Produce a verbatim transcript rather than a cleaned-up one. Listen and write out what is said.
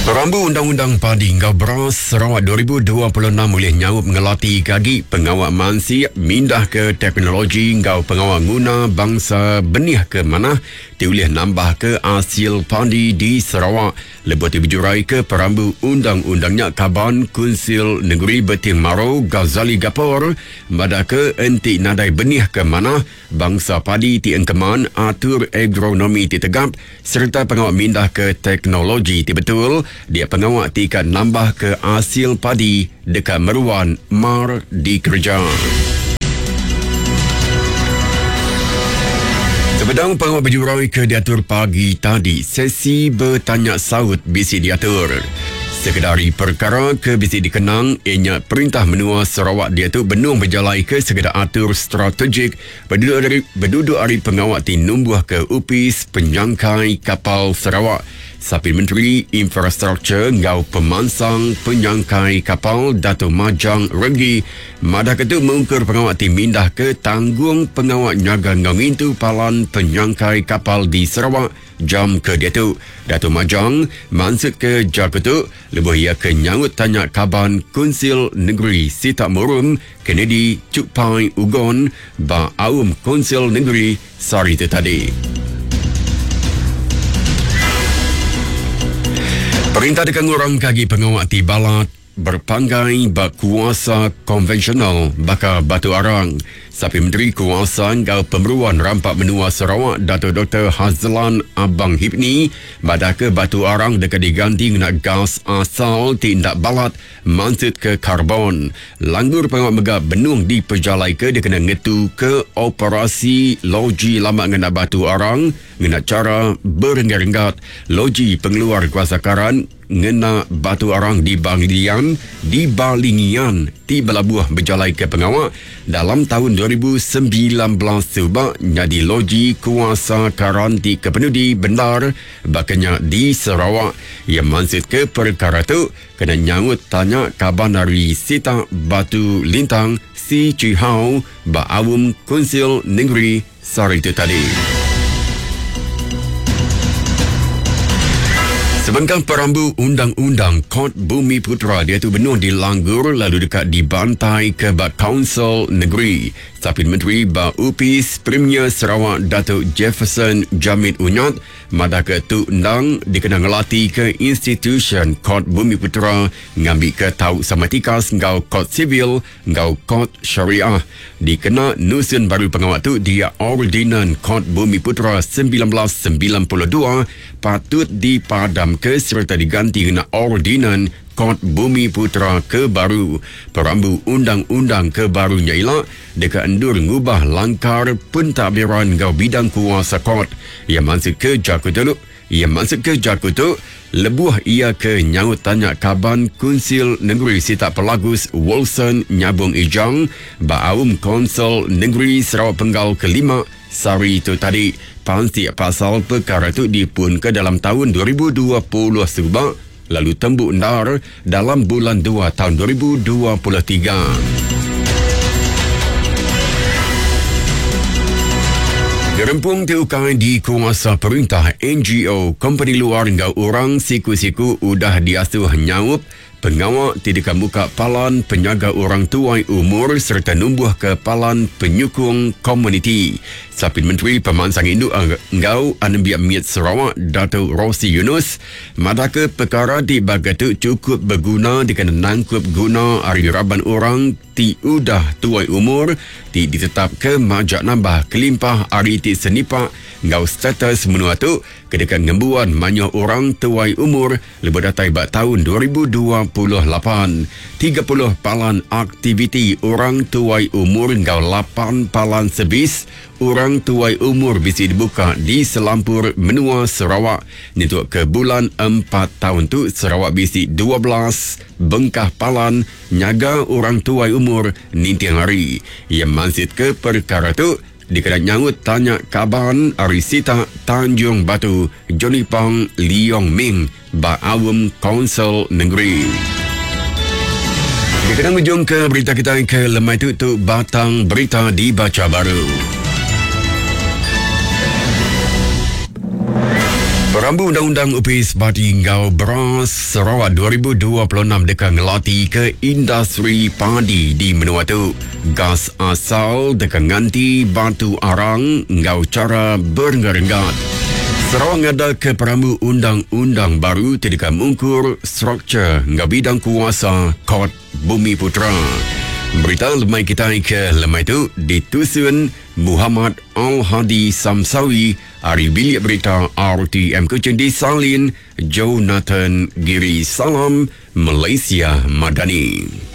Perambu Undang-Undang Padi Enggau Beras Sarawak dua ribu dua puluh enam oleh nyaup ngelati kagi pengawak mansik mindah ke teknologi enggau pengawak guna bangsa benih ke mana ti ulih nambah ke hasil padi di Sarawak. Lebuh ti berjurai ke perambu undang-undangnya Kaban Kunsil Negeri Beting Maro Ghazali Gapor madah ke enti nadai benih ke mana bangsa padi ti engkeman atur agronomi ti tegap serta pengawak mindah ke teknologi ti betul dia pengawak ti kan nambah ke hasil padi dekat meruan mar dikerja. Sebedang pengawak berjurai ke diatur pagi tadi, sesi bertanya saut bisi diatur. Sekedari perkara ke bisi dikenang, ianya Perintah Menua Sarawak dia tu benung berjalai ke sekedar atur strategik berduduk dari, berduduk hari pengawak ti numbuh ke Upis Penyangkai Kapal Sarawak. Sapi Menteri Infrastruktur ngau Pemansang Penyangkai Kapal Dato' Majang Renggi madah ketu mengkur pengawak ti mindah ke tanggung pengawak nyaga ngau ngintu palan penyangkai kapal di Sarawak jam ke dia tu. Dato' Majang maksud ke jaku tu lebuh ia ke nyaut tanya Kaban Kunsil Negeri Sitak Murum Kennedy Chukpai Ugon ba Aum Kunsil Negeri sehari itu tadi. Perintah dekat ngurang kagi pengawak ti balat berpanggai berkuasa konvensional baka batu arang. Sapi Menteri Kuasa Enggau Pemeruan Rampak Menua Sarawak Dato' Doktor Hazlan Abang Hipni madah ke batu arang dekat diganti ngena gas asal tindak balat maksud ke karbon. Langgur pengawak mega benung diperjalai ke dia kena ngetu ke operasi loji lama ngena batu arang ngena cara berenggat-renggat. Loji pengeluar kuasa karan ngena batu arang di Balingian, di Balingian ti belabuh berjalai ke pengawak dalam tahun dua ribu sembilan belas sebab jadi loji kuasa karan ti kepenudi benar bakanya di Sarawak. Ia maksud ke perkara tu kena nyaut tanya Kaban dari Sita Batu Lintang Si Chi Hao ba Awum Kunsil Negeri sehari itu tadi. Sebengkang perambu Undang-Undang Kod Bumi Putera dia tu benuh dilanggur lalu dekat dibantai ke bak Kaunsil Negeri. Sapin Menteri ba Upis Premier Sarawak Datuk Jefferson Jamit Unyat madah ke tu endang dikena ngelati ke institution Kod Bumi Putera ngambi ke tau sama tikas ngau Kod Sivil ngau Kod Syariah. Dikena nusun baru pengawak tu dia Ordinan Kod Bumi Putera sembilan belas sembilan puluh dua patut dipadam ke serta diganti dengan Ordinan Kod Bumi Putera ke baru. Perambu undang-undang ke barunya elak dekat endur ngubah langkar pentadbiran ngau bidang kuasa kod. Ia maksud ke jaku tu, ia maksud ke jaku tu lebuh ia ke nyaut tanya Kaban Kunsil Negeri Sitak Pelagus Wilson Nyabung Ijang ba Aum Konsul Negeri Sarawak Penggal kelima sehari itu tadi. Pansik pasal perkara tu dipun ke dalam tahun dua ribu dua puluh sebab lalu tembuk ndar dalam bulan dua tahun dua ribu dua puluh tiga. Gerempung Teukai di kuasa perintah N G O, kompeni luar ngau orang siku-siku udah diasuh nyaup pengawak tidak buka palan penyaga orang tuai umur serta numbuh ke palan penyukung komuniti. Sapin Menteri Pemansang Induk Enggau Anembiak Miet Sarawak Dato' Rossi Yunus madah ke perkara di bagatu cukup berguna dikena nangkup guna ari raban orang ti udah tuai umur ti ditetap ke majak nambah kelimpah ari ti senipak ngau status menua tu kedekan ngembuan banyak orang tuai umur lebih datai bak tahun dua ribu dua puluh lapan. tiga puluh palan aktiviti orang tuai umur ngau lapan palan servis orang tuai umur bisi dibuka di selampur menua Sarawak. Nyentuk ke bulan empat tahun tu Sarawak bisi dua belas bengkah palan nyaga orang tuai umur ninting hari. Ia mansit ke perkara tu dikena nyaut tanya Kaban ari Sita Tanjung Batu Johnny Pang Leong Ming ba Awam Kaunsil Negeri. Dikena ngujung ke berita kita ke lemai tu tu batang berita dibaca baru. Perambu Undang-Undang Opis Padi enggau Beras Sarawak dua ribu dua puluh enam deka ngelati ke industri padi di menua tu. Gas asal deka nganti batu arang enggau cara berenggat-renggat. Sarawak ngada ke perambu undang-undang baru ti deka mungkur struktur enggau bidang kuasa Kort Bumi Putra. Berita lemai kita ke lemai tu ditusun Muhammad Al-Hadi Samsawi ari Bilik Berita R T M Kuching disalin Jonathan Giri. Salam Malaysia Madani.